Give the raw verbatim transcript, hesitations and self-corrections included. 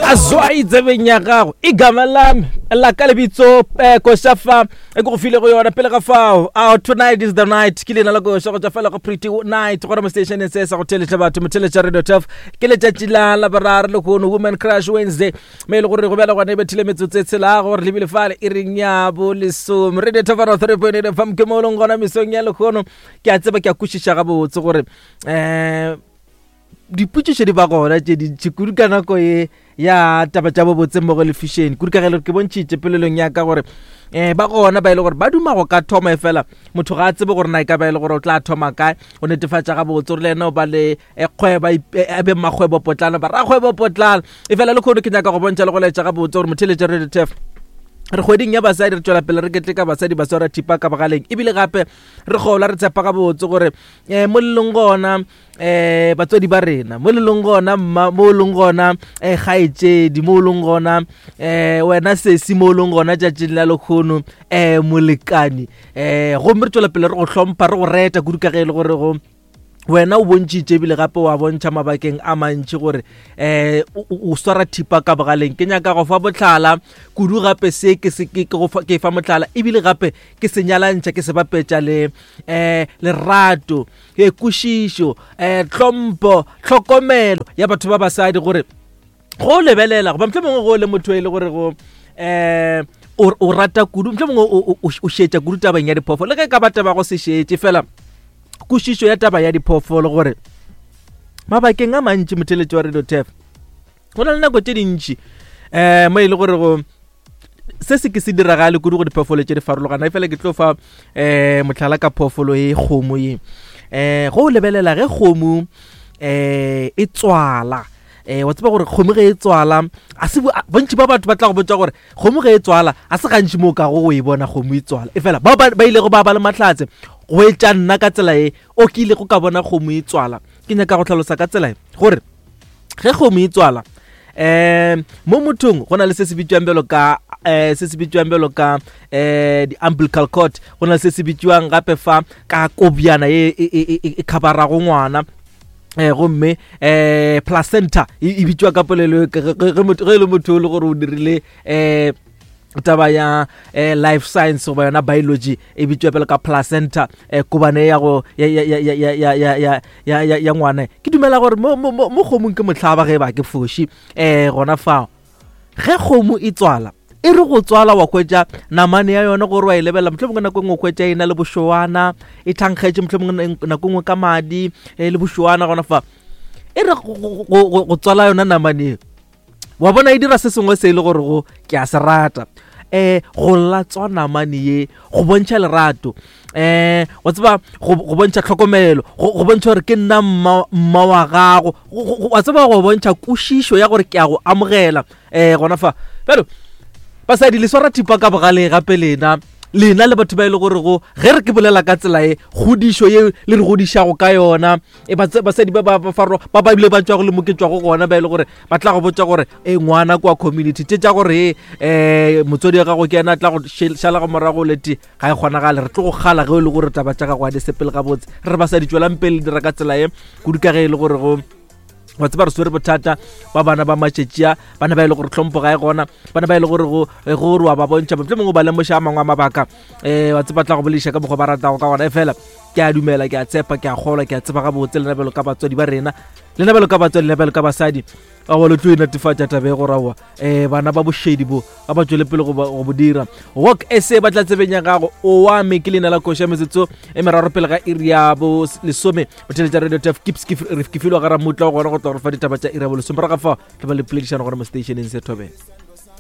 Azwai tsebeng ya gago igama lami la ka lebitso eh, koša fa e ke go file go yona pele ga fao. Oh, tonight is the night ke leina la koša go tšwa fela go Pretty Night gona mo stationeng se sa go theletša batho motheletša Radio Turf. Ke letšatši la Laboraro lehono, Women Crush Wednesday, me e le gore go bjala gona e bethile metsotso e tshelago gore lebile fale e reng ya bo lesome. Radio Turf three point eight F M ke mo e leng gona mesong ya lehono. Ke a tseba, ke a kwešiša gabotse gore um dipotšišo di ba gona tše dintši kudu ka nako ye ya taba tša bobotse mmogo le fashion, kudu ka ge le ke bontšhitše pelelong ya ka gore um ba gona ba e le gore ba duma go ka thoma, e fela motho ga a tsebe gore na e ka ba e le gore o tla thoma kae. O netefatša gabotse gore le ena o ba le eh, kgwebo, a be mmakgwebo potlana, ba rakgwebo potlana. E fela le kgono ke nyaka go bontšha le go laetša gabotse gore motheletša Radio Turf re kgweding ya basadi, re tšwela pele re keteka basadi ba swara thipa ka bogaleng, ebile gape re gola re tshepa gabotse gore um mo lelong gona um batswadi ba rena, mo lelong gona mma, mo leng gona um kgaetšedi, mo leng gona um wena sesi, mo leng gona tšatšing la lekgono um molekane, um gomme re tšwela pele re go hlompha, re go reta kudu ka ge e le gore go wena o bontšhitše ebile gape wa bontšha mabakeng a mantši gore um o swara thipa ka bogaleng. Ke nyaka go fa botlhala kudu gape se ke se ke go fa, ke fa motlhala, ebile gape ke se nyalantšha, ke se bapetša le um lerato, e kwešišo, um tlhompho, tlhokomelo ya batho ba basadi, gore go lebelela goba mohlomongwe mongwe go le motho e le gore go um o rata kudu, mohlomongwe mongwe o šetša kudu tabeng ya diphoofolo, le ge e ka ba taba go se šetše fela kwešišo ya taba ya diphoofolo, gore mabakeng a mantši motheletši wa Radio Turf go na le nako tše dintši um mo e le gore go se se ke se diragale kudu go diphoofolo tše di farologana. E fela ke tlo fa um motlhala ka phoofolo e kgomo ye. um go o lebelela ge kgomo um e tswala, um wa tseba gore kgomo ge e tswala a se bontši ba batho ba tla go botsa gore kgomo ge e tswala a se gantši mo o kago go e bona kgomo e tswala. E fela bao ba ilego ba ba le mahlatse go etša nna ka tsela e o ke ile go ka bona kgomo e tswala, ke nyaka go tlhalosa ka tsela e gore ge kgomo e tswala um mo mothong go na le se se bitswang bjalo ka um se se bitswang bjalo ka um di-umbilical cord, go na le se se bitswang gape fa ka kobjana e e khabarago ngwana, um gomme um placenta e bitswa ka polelo ge e le motho o le gore o dirile um taba ya eh, life science goba yona biology, e bitswa pele ka placenta, eh, kobane ya go ya ya ya ya ya ya ya ya ya ya ngwana. Ke dumela gore mo mo mo kgomong ke mohlaba ge ba ke foši eh gona fao ge kgomo e tswala, e re go tswala wa hwetša namane ya yona gore wa e lebelela, mohlomongwe nako engwe o hwetša e na le bošoana, e thankgetše mohlomongwe nako engwe ka madi le bošoana gona fa. E re go tswala yona namane e wa bona e dira se sengwe se e le gore go ke a se rata, um go latswa namane ye go bontšha lerato, um wa tseba go bontšha tlhokomelo, go bontšha gore ke nna mma wa gago, wa tseba go bontšha kwešišo ya gore ke a go amogela um gona fa. Bjalo basadi le swara thipa ka bogale gape lena lena le batho ba e le gore go ge re ke bolela ka tsela e kgodišo ye le re godišago ka yona, e basadi ba ba faro ba ba bile ba tšwago le mo ke tšwago gona, ba e le gore ba tla go botša gore e ngwana kwa community tše tša gore um motswadi wa gago ke ena a tla go šala go morago lete ga e kgonagale, re tlo go kgala ge e le gore taba tša gago ga di sepele gabotse. Re re basadi tšwelang pele dira ka tsela ye kudu ka ge e le gore go wa tseba re swere bothata ba bana ba matšetšia, bana ba e le gore tlhompho ga e gona, bana ba e le gore go gore wa ba bontšha mohlomongwe ba lemoša a mangwe a mabaka um wa tseba tla go bolediša ka mokgwa ba ratago ka gona. E fela ke a dumela, ke a tshepa, ke a kgolwa, ke a tseba gabotse lena bjalo ka batswadi ba rena, lena bjalo ka batswadi, lena bjalo ka basadi, aowa le tlo e netefatša taba e gore aowa um bana ba bošedi bo ga ba tšwele pele go bo dira. Walk sa ba tla tsebeng ya gago o wa me ke leina la koša, metsotso e meraro pele ga iri ya bo lesome. Botheletša Radio Turf ke filwe ga ramutla gona go tla go fa ditaba tša iri ya bo lesome, morago ga fao tla ba le poledišano gona mo stationeng se thobela.